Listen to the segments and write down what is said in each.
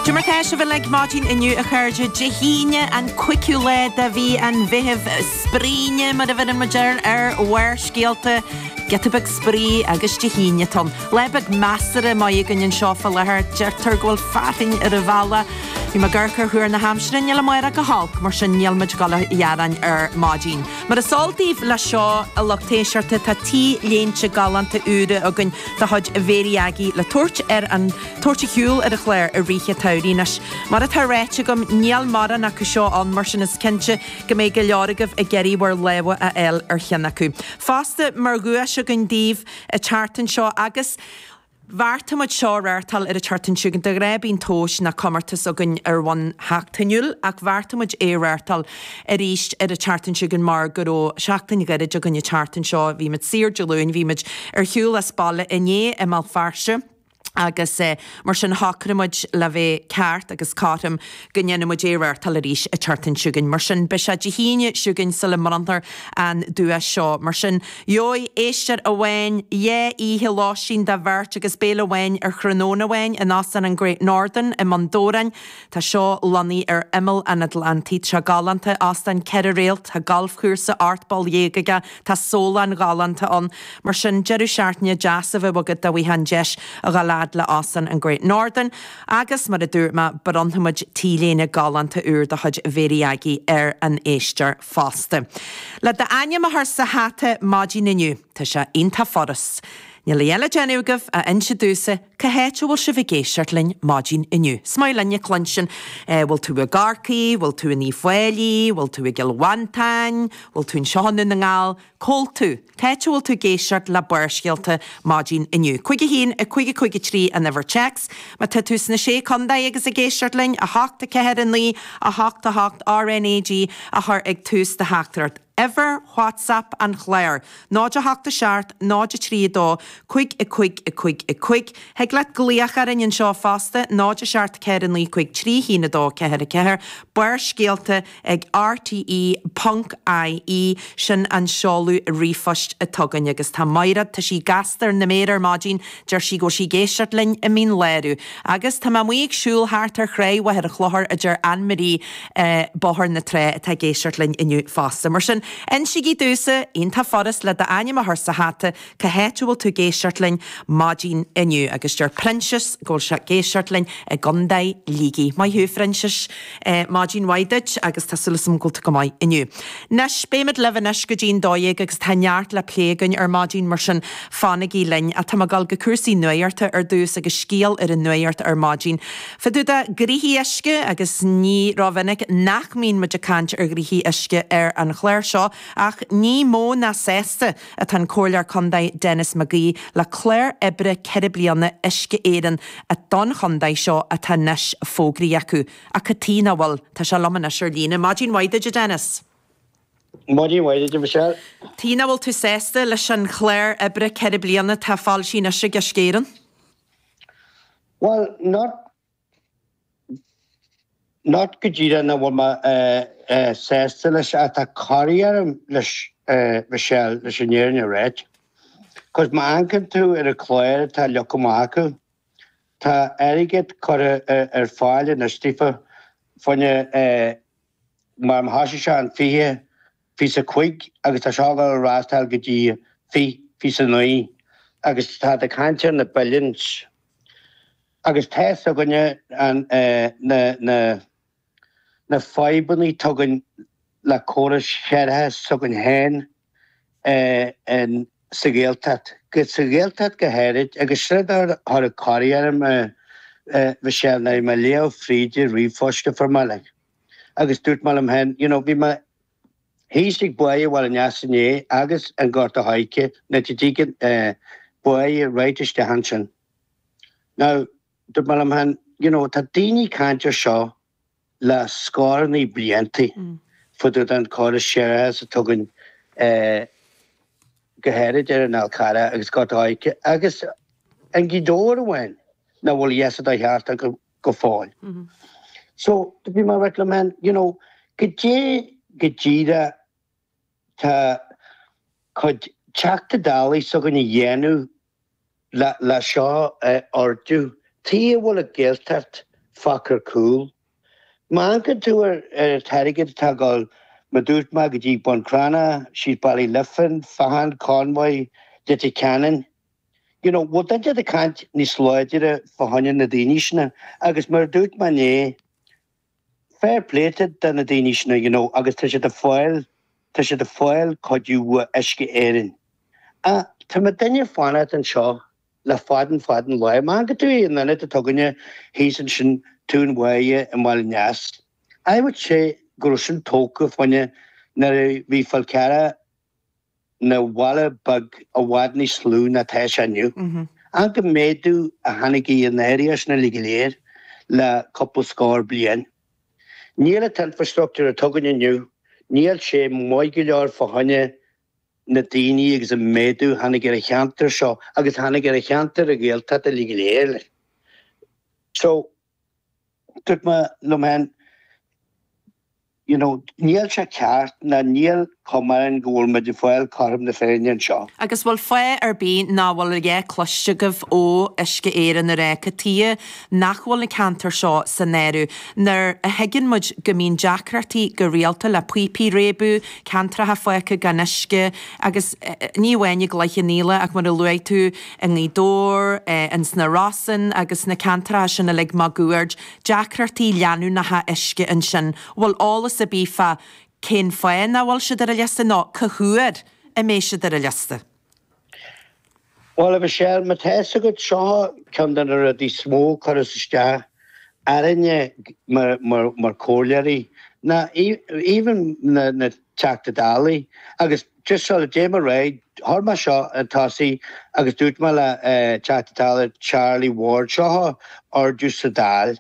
Cad é mar tá sibh uilig maidin inniu a chairde, Dé hAoine an 5ú lá de mhí an Mheithimh, spraoine mar a bheireann muid air ar Bharrscéalta, giota beag spraoi agus Dé hAoine atá ann. Lá beag measartha maith againn anseo fá láthair, deirtear go bhfuil fearthainn ar an bhealach. Bhí mé ag amharc ar thuar na haimsire, níl amárach go holc, mar sin níl muid ag dul a ghearán ar maidin. Mar is eol daoibh leis seo, a lucht éisteachta, tá T-léinte galánta úra againn de chuid Mhéirí Aggie le tabhairt ar an tabhairt ar shiúl ar an chlár i rith an tsamhraidh. Anois, mar atá ráite agam, níl mórán acu seo ann, mar sin is cinnte go mbeidh go leor agaibh ag iarraidh bhur lámha a fháil ar cheann acu. Fosta, mar dhuais againn daoibh an tseachtain seo agus. Bheartaigh muid seo a reáchtáil ar an tseachtain seo chugainn. De ghnáth bíonn tomhais ná comórtas againn ar bhonn sheachtainiúil ach bheartaigh muid é a reáchtáil arís ar an tseachtain seo chugainn mar go raibh seachtain ghairid againn an tseachtain seo. Bhí muid saor Dé Luain, bhí muid ar shiúl as baile inné i mBéal Feirste agus mar sin shocraigh muid le bheith ceart agus cothrom go ndéanfaidh muid é a reáchtáil arís an tseachtain seo chugainn. Mar sin beidh sé Dé hAoine seo chugainn sula mbronnfar an duais seo. Mar sin Gheobhaidh éisteoir amháin dhá oíche lóistín do bheirt agus béile amháin ar thráthnóna amháin in Óstán an Great Northern i mBun Dobhráin. Tá seo lonnaithe ar imeall an Atlantaigh. Tá sé galánta, óstán 4 réalt, tá galfchúrsa 18 bpoll aige, tá sólann ghalánta ann. Mar sin, deireadh seachtaine deas a bheadh agat dá bhfaighfeá an deis a dhul fhad le Óstán an Great Northern. Agus, mar a dúirt mé, bronnfaidh muid T-léine galánta úr de chuid Mhéirí Aggie ar an éisteoir. fosta. Le d'ainm a chur sa hata maidin inniu, tá sé iontach furast. Níl a dhath le déanamh agaibh ach inse domhsa cá háit a bhfuil sibh ag éisteacht linn maidin inniu. Is maith linn a chluinstin, bhfuil tú i gCorcaigh, bhfuil tú in Uíbh Fhailí, bhfuil tú i gCill Mhantáin, bhfuil tú anseo i nDún na nGall, Cá bhfuil tú? Cá háit a bhfuil tú ag éisteacht le Barrscéalta maidin inniu? 5 1 5 5 3 an uimhir téacs. Má tá tú sna Sé Contae agus ag éisteacht linn, 8 4 9 8 8 RNAG a chur ag tús do theachtaireacht. Uimhir WhatsApp an chláir, 0 8 7 0 3 2 5 5 5 5. Thig leat glaoch orainn anseo fosta, 0 7 4 9 5 3 1 2 4 4. Barrscéalta ag rte ponc ie, sin an seoladh ríomhphoist atá againn. Agus tá Máiréad, tá sí gasta ar na méara ar maidin, deir sí go bhfuil sí ag éisteacht linn i Mín Lárach. Agus tá mé amuigh ag siúl thart ar thráigh Mhachaire Chlochair, a deir Anne Marie i Bóthar na Trá atá ag éisteacht linn inniu fosta. Mar sin, insígí domhsa, iontach furast, le d'ainm a chur sa hata, Cá háit a bhfuil tú ag éisteacht linn maidin inniu? Agus deir Proinsias go bhfuil sé ag éisteacht linn i gContae Shligigh. Maith thú, a Phroinsiais. Maidin mhaith duit agus tá súil agam go bhfuil tú go maith inniu. Anois, beimid libh anois go dtí'n 12 agus tá neart le plé againn ar maidin, mar sin fanaigí linn. Ach tá mé ag dul go cúrsaí nuachta ar dtús agus scéal ar an nuacht ar maidin. Fá dtaobh de ghnoithí uisce agus ní rómhinic nach mbíonn muid ag caint ar ghnoithí uisce ar an chlár seo ach ní mó ná sásta atá an Comhairleoir Contae Denis McGee le clár oibre 4 bliana Uisce Éireann don chontae seo atá anois fógraithe acu. Ach cad tuige nach bhfuil? Tá sé liom anois ar líne. Maidin mhaith duit, a Dennis. Maidin mhaith duit, a Michelle. Tuige nach bhfuil tú sásta leis an chlár oibre 4 bliana atá foilsithe anois ag Uisce Éireann? Bhuel, not Not go díreach nach bhfuil mé sásta leis ach tá corraí orm leis Michelle, leis an fhírinne a ráit. Cos má amharcann tú ar an chlár atá leagtha amach acu, tá airgead curtha ar fáil anois daofa fá choinne mar thosaigh sé an 20, 25 agus tá seo ag dul a reáchtáil go dtí 20, 29 agus tá ag caint ar na billions. Agus tá fhios againne na na na fadhbanna atá againn le córas séarachais s'againn féin in sa Ghaeltacht, sa Ghaeltacht go háirid, agus sin rud a chuir corraí orm Michelle nuair a bhí mé ag léamh fríd an ríomhphost a fuair mé like. Agus dúirt mé liom féin, you know, bhí mé thíos ag Báigh Bhaile an Easa inné agus an Gort a' Choirce, na dtigeann báighe right isteach ansin. Now, dúirt mé liom féin, you know, tá daoine ag caint ar seo le scórannaí bliantaí fá dtaobh den córas séarachais atá againn go háirid ar an Fhál Carrach agus Gort a' Choirce agus an Gaoth Dobhair amháin nach bhfuil a fhios dá cheart acu go fóill. So, bhí mé ag rá liom féin, you know, goidé go díreach tá cuid Teachta Dálaí s'againn a dhéanamh le seo a ardú. Tuige a bhfuil an Ghaeltacht. fágtha ar cúl. Má amharcann tú ar an t-airgead atá ag dul, mar dúirt mé, go dtí Bun Cranncha, síos Baile Lifin, Feartán, Convoy, Leitir Ceanainn, you know, bhfuil duine ag caint níos láidire fá choinne na daoine sin agus mar a dúirt mé inné, fair play do na daoine sin, you know, agus tá siad ag fáil, tá siad ag fáil cuidiú ó Uisce Éireann. Ach tá muidinne ag fanacht anseo le fada an fada an lá. Má amharcann tú ar an ionad atá againne thíos ansin, Tóin Bháire i mBaile an Eas, I would say go raibh sin tógtha fá choinne nuair a bhí Fál Carrach ina bhaile beag i bhfad níos lú ná tá sé inniu. Amharc an méadú a tháinig ar an area sin uilig go léir le cúpla scór bliain. Níl an t-infrastructúr atá againn inniu, níl sé maith go leor fá choinne na daoine agus an méadú a tháinig ar an cheantar seo agus a tháinig ar an cheantar i Gaeltacht uilig go léir. So, dúirt mé liom féin, you know, níl sé ceart ná níl cuma orainn go bhfuil muid ag fáil cothrom na Féinne anseo. Agus bhfuil fáth ar bith nach bhfuil a dhath cloiste agaibh ó Uisce Éireann ag rá cad tuighe nach bhfuil na ceantair seo san áireamh nuair a thuigeann muid go mbíonn deacrachtaí go rialta le píopaí réabadh, ceantracha fágtha gan uisce agus ní amháin i gCloich Cheann Fhaola ach mar a luaigh tú i nGaoth Dobhair, ins na Rosann agus na ceantracha sin uilig máguaird, deacrachtaí leanúnacha uisce ansin. Bhfuil eolas ar bith fá cén fáth nach bhfuil siad ar an liosta nó cá huair a mbeidh siad ar an liosta? Bhuel, a Mhichelle, má tá fhios agat, seo ceann de na rudaí is mó a chuireas isteach orainne mar chomhairleoirí, ná even na Teachta Dálaí, agus just sula dtéim ar aghaidh, chuir mé seo chun tosaigh agus dúirt mé le Teachta Dála Charlie Ward, seo ordú sa Dáil,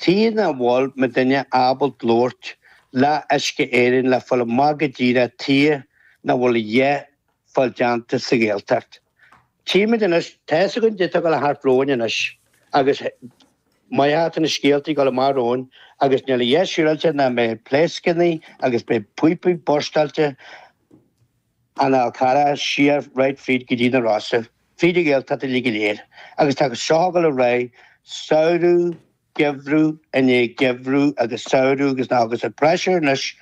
tuige nach bhfuil muidinne ábalta labhairt le Uisce Éireann le fáil amach go díreach tuige nach bhfuil a dhath fáil déanta sa Ghaeltacht. Tchímid anois, tá fhios againn caidé atá ag dul thart romhainn anois agus maith atá na scéaltaí ag dul amach romhainn agus níl a dhath siúráilte nach mbeidh pléascannaí agus beidh píopaí burstáilte an Fhál Carrach siar right fríd go dtí na Rosa, fríd an Ghaeltacht uilig go léir agus tá seo ag dul ar aghaidh samhradh geimhreadh i ndiaidh geimhreadh agus samhradh agus na agus an pressure anois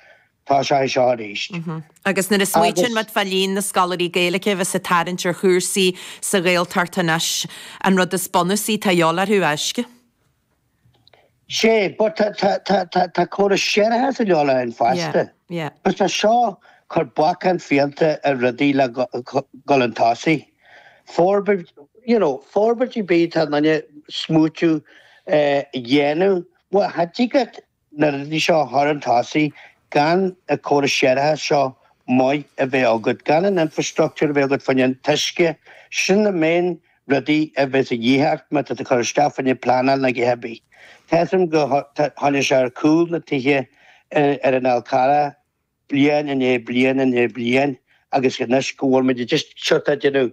tá sé seo arís. Agus nuair a smaoitíonn muid fá líon na scoláirí Gaeilge a bheas ag tarraingt ar chúrsaí sa Ghaeltacht anois, an rud is bunúsaí atá a dhíobháil orthu, uisce. Sé, but tá tá tá tá tá córas séarachais a dhíobháil orainn fosta. Yeah, yeah. But tá seo cur bacáin fiánta ar rudaí le dhul chun tosaigh. Forbairt, you know, forbairt ar bith atá in ann smaoitiú a dhéanamh, bhuel, cha dtig leat na rudaí seo a chur chun tosaigh gan an córas séarachais seo maith a bheith agat, gan an infrastructure a bheith agat fá choinne an t-uisce, sin na main rudaí a bheas a dhíth ort má tá tú ag cur isteach fá choinne pleanáil nó a dhath ar bith. Tá fhios agam go tháinig sé ar cúl na tithe ar an Fhál Carrach, bliain i ndiaidh bliain i ndiaidh bliain agus anois go bhfuil muid just sort of déanamh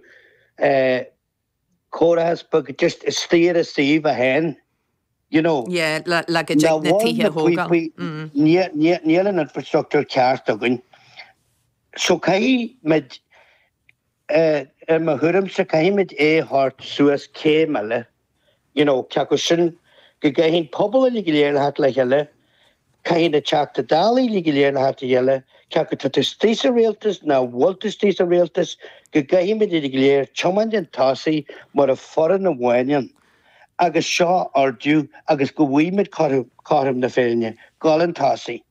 cóireachas beag just istigh ar an suíomh é féin you know. Yeah, le le go dtig na tithe a thógáil. Mm. Níl an infrastructure ceart againn. So caithfidh muid Ar mo thuairimse, caithfimid é a thabhairt suas céim eile, you know, cé acu sin go gcaithfidh an pobal uilig go léir le theacht le chéile, caithfidh na Teachta Dála uilig go léir le theacht le chéile, cé acu tá tú istigh sa rialtas ná bhfuil tú istigh sa rialtas, go gcaithfimid uilig go léir tiomáint chun tosaigh mar a foireann amháin ann agus seo a ardú agus go bhfaighimid cothrom na Féinne, dul chun tosaigh.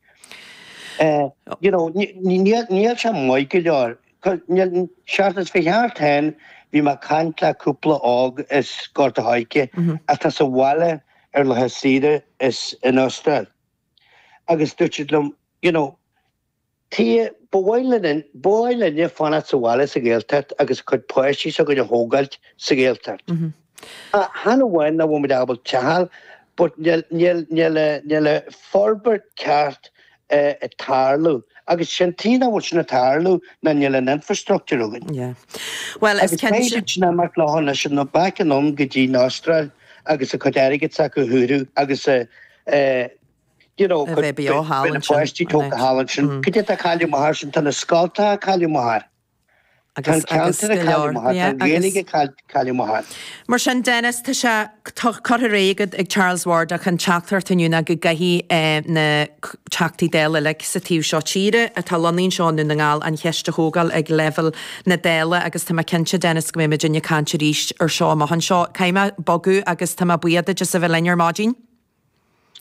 You know, níl sé maith go leor. Seachtain is fiche thart féin bhí mé ag caint le cúpla óg as Gort a' Choirce atá sa bhaile ar laetha saoire is in Astráil agus dúirt siad liom you know tuige ba mhaith linn ba mhaith linne fanacht sa bhaile sa Ghaeltacht agus cuid páistí s'againn a thógáilt sa Ghaeltacht. Chan amháin nach bhfuil muid ábalta teach a fháil but níl níl níl níl an forbairt ceart ag tarlú agus sin tuige nach bhfuil sin ag tarlú ná níl an infrastructure againn. Yeah. Well is Agus cinnte. Beidh siad sin imeacht leo anois an back anonn go dtí an Astráil agus a cuid airgid s'acu a shaothrú agus a you know A bheith beo thall na ansin. páistí tógtha thall ansin. Cad é atá cailleadh amach air sin? Tá na scoltacha cailleadh amach air. Tá an agus ceantar go ag leor. cailleadh amach, tá Yeah, an Ghaeilge agus. ag cailleadh amach. Mar sin, Dennis, tá sé curtha ar aghaidh agat ag Charles Ward ach an teachtaireacht inniu ná go gcaithfidh na Teachtaí Dála uilig sa taobh seo tíre atá lonnaithe anseo i nDún na nGall an cheist a thógáil ag leibhéal na Dála agus tá mé cinnte, Dennis, go mbeidh muidinne ag caint arís ar seo amach anseo. Caithfidh mé bogadh agus tá mé buíoch duit as a bheith linn ar maidin.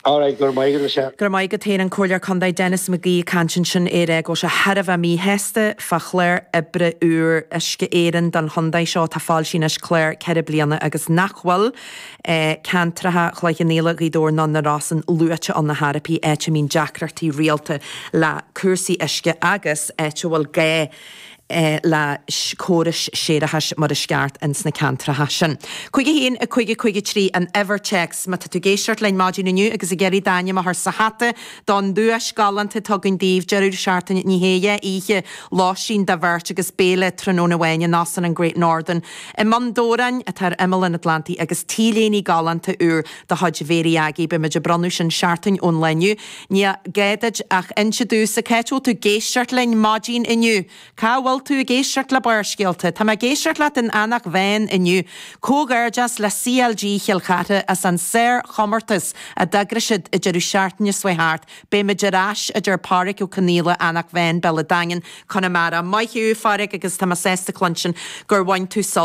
Alright, go raibh maith agat, Michelle. Go raibh maith agat féin, an Comhairleoir Contae Denis McGee ag caint ansin é ag rá go bhfuil sé thar a bheith míshásta fá chlár oibre úr Uisce Éireann don chontae seo atá foilsithe anois, clár 4 bliana agus nach bhfuil ceantracha Chloich Cheann Fhaola, Ghaoth Dobhair ná na Rosann luaite ann ar chor ar bith, áit a mbíonn deacrachtaí rialta le cúrsaí uisce agus áit a bhfuil gá le córais séarachais mar is ceart ins na ceantracha sin. 5 1 5 5 3 an uimhir téacs má tá tú ag éisteacht linn maidin inniu agus ag iarraidh d'ainm a chur sa hata don duais galánta atá againn daoibh, deireadh seachtaine, ní hé, dhá oíche, lóistín do bheirt agus béile tráthnóna amháin in Óstán an Great Northern i mBun Dobhráin atá ar imeall an Atlantaigh agus t-léine galánta úr de chuid Mhéirí Aggie. Beimid ag bronnadh sin seachtain ón lá inniu. Ní gá duit ach inse domhsa cá háit a bhfuil tú ag éisteacht linn maidin inniu. Cá bhfuil tú ag éisteacht le Barrscéalta? Tá mé ag éisteacht leat in Eanach Mheáin inniu. Comhghairdeas le CLG Chill Chartha as an sár-chomórtas a d'eagraigh siad an deireadh seachtaine seo thart. Beimid ar ais, a deir Páraic Ó Conaola, Eanach Mheáin, Béal an Daingin, Conamara. Maith thú, a Pháraic, agus tá mé sásta cluinstin gur bhain tú sult.